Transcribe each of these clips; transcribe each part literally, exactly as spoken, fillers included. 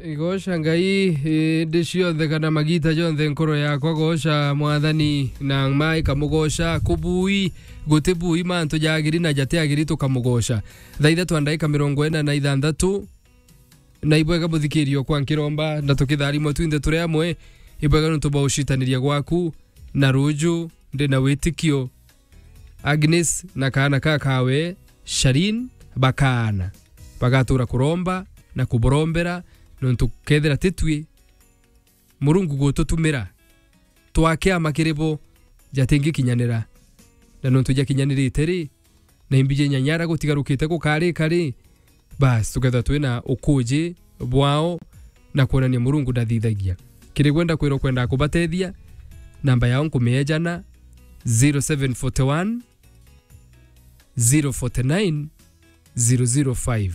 Igoca Ngai, indi cionthe kana magita jonthe nkoro yakwa goca Mwathani, na mai kamugoca kubui, guti bui mantu jagiri na jati agiri tukamugoca. Thaa ithatu na ndaika mirongo ina na ithanthatu, na ibwega muthikirio kwa nkiromba, na tukitharimwa twinthe turi amwe, ibwega nuntu bwa ucitaniria gwaku, na ruju ndi na witikio Agnes na kaana ka kawe, Sharin, bakaana. Bagatura kuromba na kuborombera, nontu kethira titwi, Murungu gututumira, twakiama kiri bo, jatingikinyanira. Na nontu jakinyanirite ri, na imbiji nyanyara gutigarukite gukarika ri, bas, tukethwa twina ukuji bwao na kwonania Murungu ndathithagia. Kiri gwenda kwirwa kwenda kubatethia, namba yao nkumiejana, zero seven forty one, zero forty nine, zero zero five.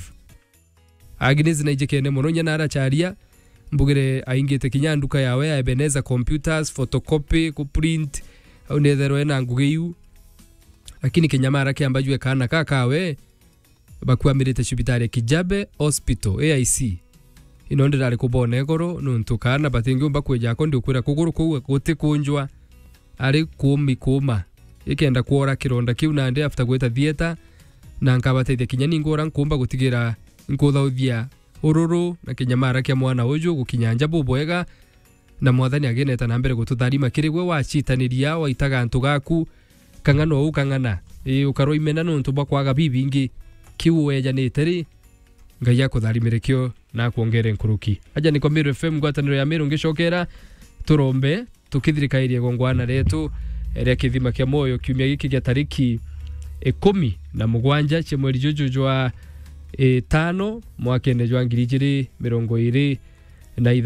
Agnes naijikene mono, inya naracharia, mbugire aingite kinya nduka yawe ya Ebenezer Computers, photocopy, ku print, au netherwe na ngugi iu. Lakini kinyamara kiamba jwe kaana ka kawe, bakwamirite cibitari ya Kijabe Hospital, A I C. Ino ndirari kubona igoro, nontu kaana batingiumba kweja ako, ndiukwira kuguru kuu guti kunjwa, ari kuumi kuuma. Ikenda kwora kironda kiu nandi after gwita theatre, na nkabatethia kinya ningi ura nkumba gutigira nkuthauthia ururu na kinyamara kia mwana uju gukinya nja bubwega, na Mwathani ageneta na mbere gututharima kiri gwe wacitaniria, waitaga antu gaku, kang'ana uu kang'ana. Ii, ukarwa imena nontu bwa kwaga bibingi. Kiu wejanite ri, Ngai akutharimire kio na akwongere nkuruki. Aja niko Meru F M, ngwataniro ya Meru, ngicokera turombe, tukithirikairie gongwana retu ria kithima kia mwoyo kiumia giki gia tariki ikumi na mugwanja cia mweri juju jwa itano mwakene jwa ngiri ijiri mirongo iri na ithano.